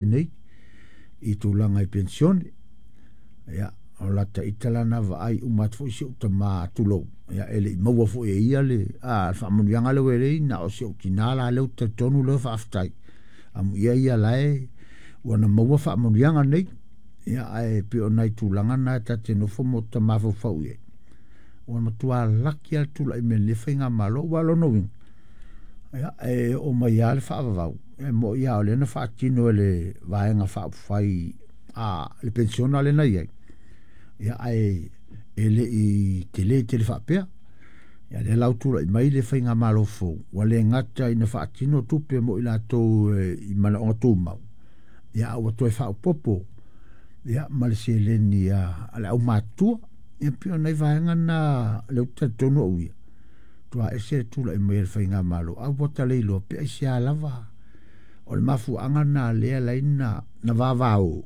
Nei i tulaga i penisione. Ia, o lata ita la na vaai uma atu foi si ou tama, tulou, ia, e le i maua foi e ia le faamanuiaga lea ua i ai, na o si ou tina la lea ou te talitonu lea faafetai. Amuia ia la e ua na maua faamanuiaga nei. Ia, ae pei o nai tulaga na e ta te nofo ma ta mafaufau i ai. Ua matua laki lava le tulai mai o lenei faigamalo, aua o lona uiga, ia, e oo mai lava le faavavau, e moni lava o lea na faatino e le Vaega Faaupufai a le penisiona lea na i ai, ia, ae e le i tele tele faapea. Ia, lea la ua tulai mai le faigamalo fou, ua le gata ina faatino tupe mo i latou i manaoga tumau, ia, a ua toe faaopoopo ia ma le seleni a le aumatutua. Ia pei o nai vaega na lea ou te talitonu au ia, matua ese le tulai mai o le faigamalo, ae ua ta le iloa pe aisea lava. O le mafuaaga lena lea e ala ai ona vavao,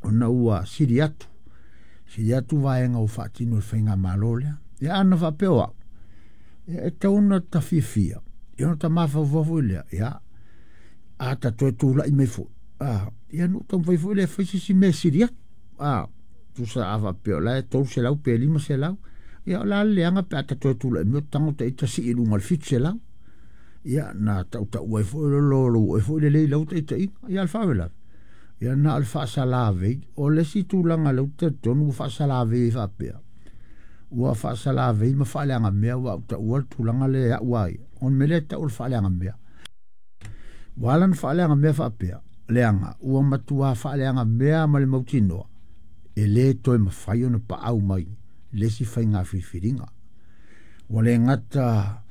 ona ua sili atu, sili atu vaega ua faatino e le faigamalo lea. Ia ana faapea o au, ia e tatau ona ta fiafia, ia ona ta mafaufau foi lea, ia, a ta toe tulai mai foi, ia ona ou taumafai foi lea e fai se isi mea e sili atu. Tusa a faapea o la e 300 pe 500, ia o le a le leaga pe a ta toe tulai mai o tago ta ita sii i luga o le 700. Ia na tautau ai foi lou oe foi lelei i lau taitaiga. Ia a o le faalavelave, ia na o le faasalavei. O le isi tulaga lea ou te talitonu ua faasalavei ai faapea, ua faasalavei ma faaleagamea, aua ua taua le tulaga lea e au a ia, o le mea lea e tau o le faaleagamea. Ua ala ona faaleagamea faapea, leaga ua matua faaleagamea ma le mautinoa, e le toe mafai ona paau mai le isi faiga filifiliga. Ua le gata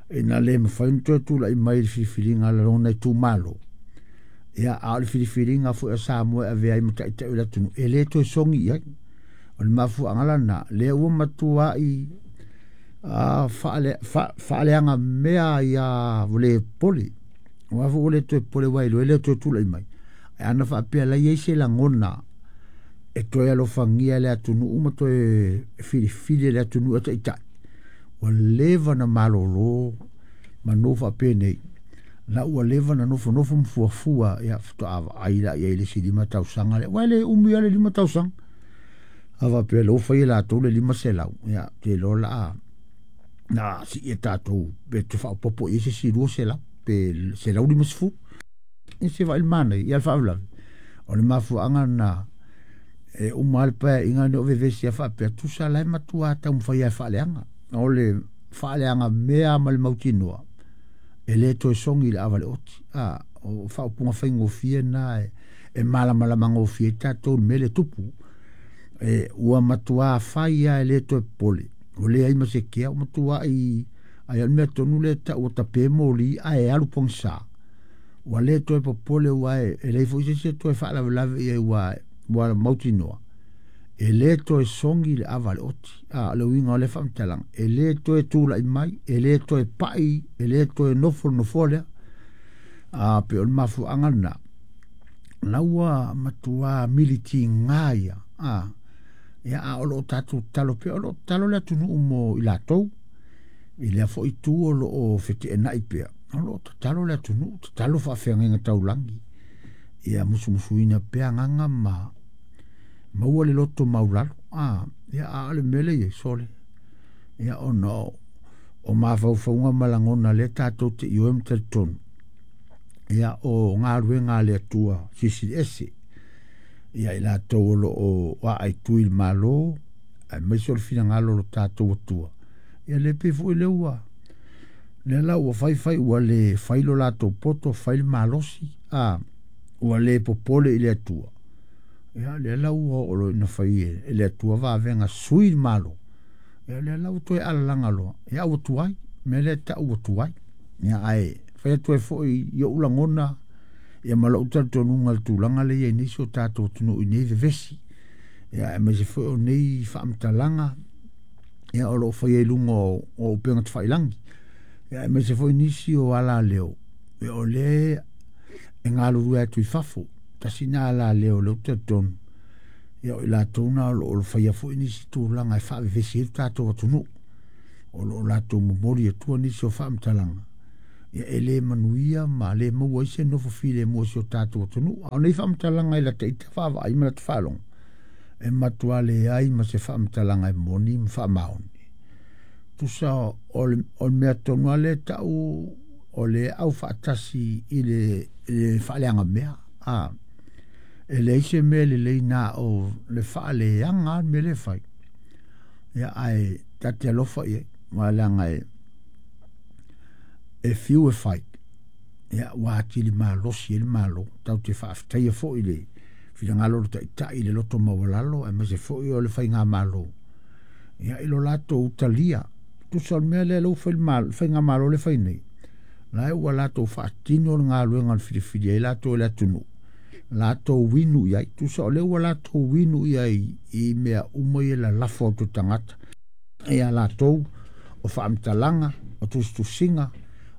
ina le mafai ona toe tulai mai i le filifiliga a lona itumalo, ia, a o le filifiliga foi a Samoa e avea ai ma taitai o le atunuu, e le toe sogi i ai. O le mafuaaga la lena, lea ua matuai faaleagamea ai lava, ua le popole. Aua foi ua le toe popole aua e iloa e le toe tulai mai. Ae ana faapea o la e i ai se lagona e toe alofagia e le atunuu ma toe filifili e le atunuu e taitai, ua leva ona malolo manu faapenei, la ua leva ona nofonofo ma fuafua, ia faatoa vaai la i ai i le isi 5 tausaga lea, aua e le umi lava le 5 tausaga. A faapea o lea ua fai e latou le 500, ia, ou te iloa o le a na sii e tatou pe toe faaopoopo i ai se isi 200 pe 150. Ia se vaai i le manaia, ia o le faalavelave, o le mafuaaga lena e uma lava le paeaiga lenei o vevesi lava faapea, tusa la e matua taumafai lava e faaleaga. O le faaleaga mea ma le mautinoa, e le toe sogi i le ava a le oti. O faaupuga faigofie na e malamalama gofie ai tatou i le mea lea e tupu. E, ua matua fai lava e le toe popole, ua leai ma se kea, ua matuai, ai o le mea tonu lea e tau ua tape moli ae alu pogisa. Ua le toe popole aua e leai foi se isi e toe faalavelave i ai aua ua mautinoa e le toe sogi le ava a le oti. O le uiga o lea faamatalaga, e le toe tulai mai, e le toe pai, e le toe nofo le nofoa lea. Pei o le mafuaaga lena, la ua matua militiga ia. Ia, a o lo o tatou tatalo pea, o lo o tatalo le atunuu mo i latou. I lea foi itu o lo o feteenai pea, o lo o tatalo le atunuu, tatalo faafeagaiga taulagi, ia musumusuina pea agaga ma maua le loto maulalo. Ia, a o le mea lea e i ai, sole, ia, ona o mafaufauga ma lagona lea tatou te ioe ma talitonu, ia, o galuega a le Atua Silisili Ese, ia i latou o lo o aai i le Malo, aemaise o le finagalo o lo tatou Atua. Ia le pei foi lea ua lea la ua fai fai ua le fai lo latou poto, fai le malosi, ua le popole i le Atua. Ia lea la ua oo loa ina fai e le Atua vavega sui le Malo. Ia lea la ua toe alalaga loa, ia ua tuai, mea lea e tau ua tuai. Ia ae fai atu ai foi i ou lagona, ia ma lou talitonuga i le tulaga lea e i ai nei si o tatou atunuu i nei vevesi, ia aemaise foi o nei faamatalaga, ia o lo o faia i luga o upega tafailagi, ia aemaise foi nisi o alaleo, ia o lea e galulue atu i fafo. Tasi na alaleo lea ou te talitonu, ia o i latou na o lo o faia foi nisi tulaga e faavevesi ai le tatou atunuu, o lo o latou momoli atua nisi o faamatalaga. Ia e le manuia ma le maua ai se nofo filemu o si o tatou atunuu. A o nei faamatalaga i lata ita vaavaai ma lata faalogo, e matua leai ma se faamatalaga e moni ma faamaoni. Tusa o le mea tonu lava lea e tau o le aufaatasi i le faaleagamea. E leai se mea lelei na o le faaleaga lava le mea lea e fai. Ia ae ta te alofa i ai, aua leaga e fiu e fai, ia ua atili malosi ai le Malo. Tatou te faafetaia foi le finagalo o le Taitai i le loto maualalo aemaise foi o le faigamalo, ia i lo latou talia. Tusa o le mea lea ua fai le faigamalo lea e fai nei, la ua latou faatino le galuega na filifili ai latou e le atunuu, latou inu i ai. Tusa o lea ua latou inu i ai i mea uma ia lalafo atu e tagata ia latou, o faamatalaga, o tusitusiga,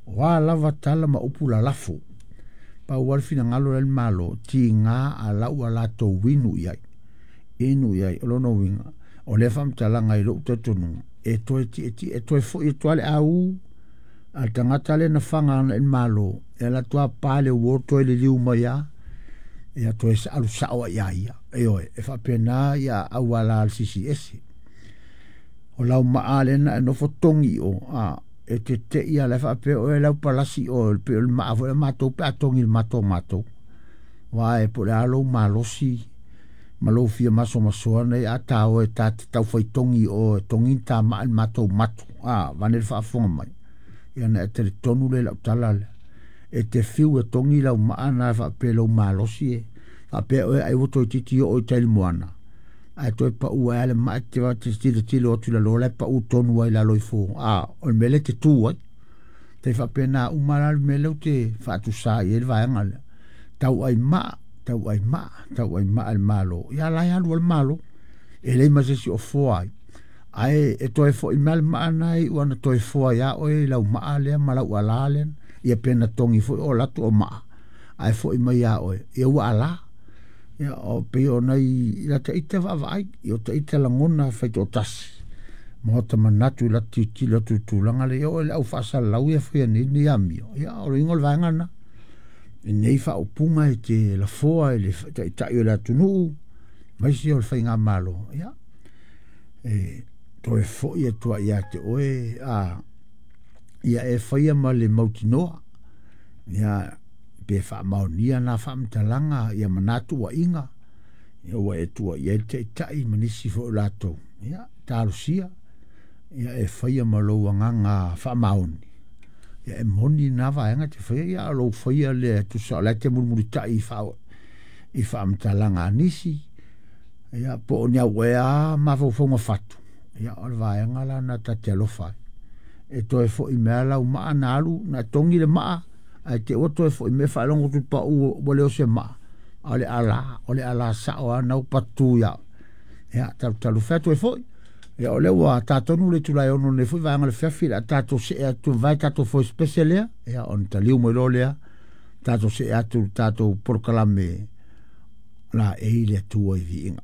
o a lava tala ma upu lalafo. Pau lava le finagalo lea le Malo, tiga a la ua latou inu i ai. Inu i ai, o lona uiga, o lea faamatalaga i lou talitonuga, e toe tietie, e toe foi atu lava le au a le tagata lea na faga ana i le Malo, e alu atu lava pa le uo toe liliu mai lava, ia toe alu sao ai ia ia. Ioe, e faapena ia auala a le sisi ese. O lau maa lea na e nofo togi i o, e te tei a la e faapea oe lau palasi o pe o le maa foi a matou pe a togi le matou matou. Aua e po o le a lou malosi ma lou fia masomasoa nei a ta o e ta te taufai togi o e togi ni ta maa i le matou matu, vaeane le faafofoga mai. Ia ona e talitonu lea i lau tala lea. E te fiu e togi lau maa na faapea lou malosi e faapea oe ai ua toeitiiti oo i tai i le moana, ae toe pau ai le maa e te tilotilo atu i lalo la e pau tonu ai lalo ifo, o le mea lea e te tu ai. Tai faapena uma la le mea lea ou te faatusa i ai le vaega lea. Tauai maa, tauai maa, tauai maa le Malo. Ia la e alu ai le Malo. E leai ma se isi o foa ai. Ae e toe foi mai le maa na e iu lava ina toe foa ia oe i lau maa lea ma lau alā lea. Ia pe na togi foi o alu atu o maa, ae foi mai ia oe, ia ua alā. Ia o pei o nai lata ita vaavaai, i o ta ita lagona faitoatasi, ma o ta manatu i lata tilotilo atu i le tulaga lea, ia oo i le au faasalalau ia e faia nei lenei amio, ia o le uiga o le vaega lena. I nei faaupuga e te lafoa i le taitai o le atunuu, aemaise o le faigamalo, ia, e toe foi atu ai ia te oe, ia e faia ma le mautinoa, ia, pe faamaonia na faamatalaga, ia ma na tuuaiga, ia ua e tuuaia ai le taitai ma nisi foi o latou, ia, talosia, ia e faia ma lou agaga faamaoni, ia e moni na vaega te faia, ia o lou faia lea tusa o la e te mulimulitai i faamatalaga a nisi, ia po o ni au ea mafaufauga fatu, ia o le vaega la na ta te alofa ai. E toe foi mai lau maa na alu, na togi le maa, ae te ua toe foi mai faalogo atu pau ua le o se maa, a o le alā sao lava na ua patu ia. Ia, talutalu fai atu ai foi. Ia, o lea ua tatonu le itula e 6 nei foi vaega o le afiafi, le a tatou see atu vai tatou foi special lea, ia, ona taliu mai loa lea, tatou see atu le tatou polokalame la e i le Atua i viiga.